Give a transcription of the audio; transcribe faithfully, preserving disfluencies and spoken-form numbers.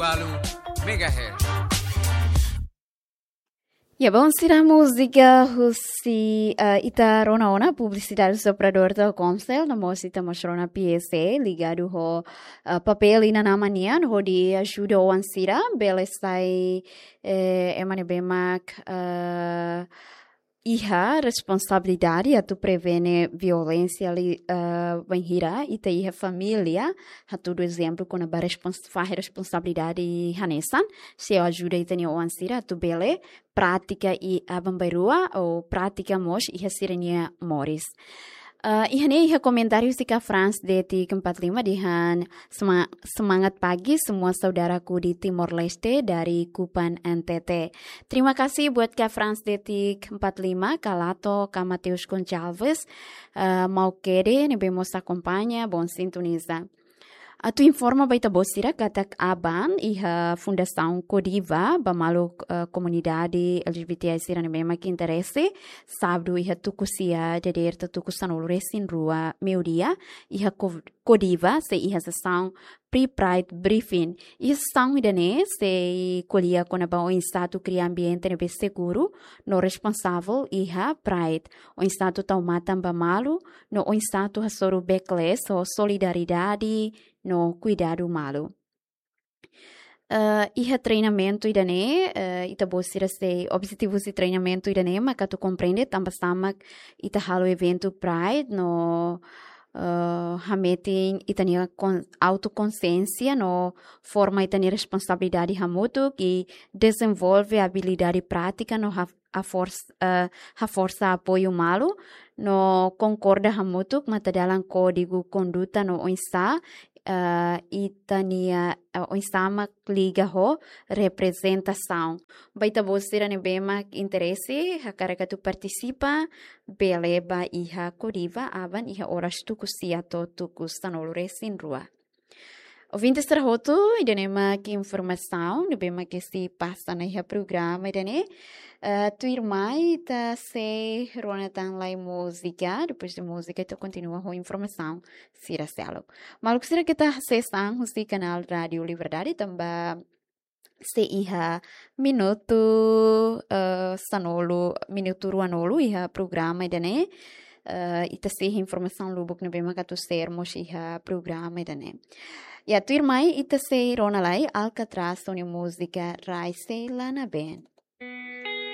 Balu Megahertz. Ya, bom, sira múzika husi, eh, ita rona ona publisidade husi operadór Telkomcel, no mós ita mós rona P S A, ligadu ho, eh, papél inan-aman nian, hodi ajuda oan sira, bele sai, eh, ema ne'ebé mak, eh, iha responsabilidade atu prevene violénsia li, eh, bainhira ita iha família, hatudu ezemplu kona-ba respons-, fahe responsabilidade hanesan, sei ajuda ita-nia oan sira atu bele pratika iha aban-bainrua ou pratika mós iha sira-nia moris. Eh, iha ne'e iha komentáriu husi Ka Frans de'it empat lima dehan sema-, semangat pagi semua saudaraku di Timor Leste dari Kupang N T T. Terima kasih buat Ka Frans de'it empat lima, Ka Lato, Ka Mateus Gonçalves, eh, Maukede, ne'ebé mós akompaña, bom sintoniza. Atu informa ba ita-boot sira katak aban iha Fundasaun Kodiva ba maluk, eh, komunidade L G B T I sira ne'ebé mak interese, sábadu iha tuku sia dadeer to'o tuku sanulu-resin-rua meiudia, iha Ko-, Kodiva sei iha sesaun pre-Pride briefing. Iha sesaun ida-ne'e sei ko'alia kona-ba oinsá atu kria ambiente ne'ebé seguru no responsavel iha Pride. Oinsá atu tau matan ba malu, no oinsá atu hasoru backlash ho solidariedade no kuidadu malu. Eh, iha treinamentu ida-ne'e, eh, ita-boot sira sei, objetivu husi treinamentu ida-ne'e maka atu komprende tanba sá mak ita halo eventu Pride no, eh, hametin ita-nia kon-, autokonsiénsia no forma ita-nia responsabilidade hamutuk i dezenvolve abilidade prátika no ha-, haforsa, eh, haforsa apoiu malu no konkorda hamutuk matadalan kódigu konduta no oinsá, eh, ita-nia, eh, oinsá mak liga ho reprezentasaun. Ba ita-boot sira ne'ebé mak interese, hakarak atu partisipa, bele ba iha Kodiva aban iha oras tuku sia to'o tuku sanulu-resin-rua. Ouvinte sira hotu, ida-ne'e mak informasaun ne'ebé mak sei pasa ona iha programa ida-ne'e. Eh, tuirmai ita sei rona tan lai múzika, depois de múzika ita kontinua ho informasaun sira seluk. Maluk sira, keta hasees an husi kanál Rádio Liberdade tanba sei iha minutu, eh, sanulu, minutu ruanulu iha programa ida-ne'e. Eh, ita sei iha informasaun lubuk ne'ebé mak atu share mós iha programa ida-ne'e. Ya, tuirmai ita sei rona lai Alcatraz ho nia múzika Rai Sei La Nabeen.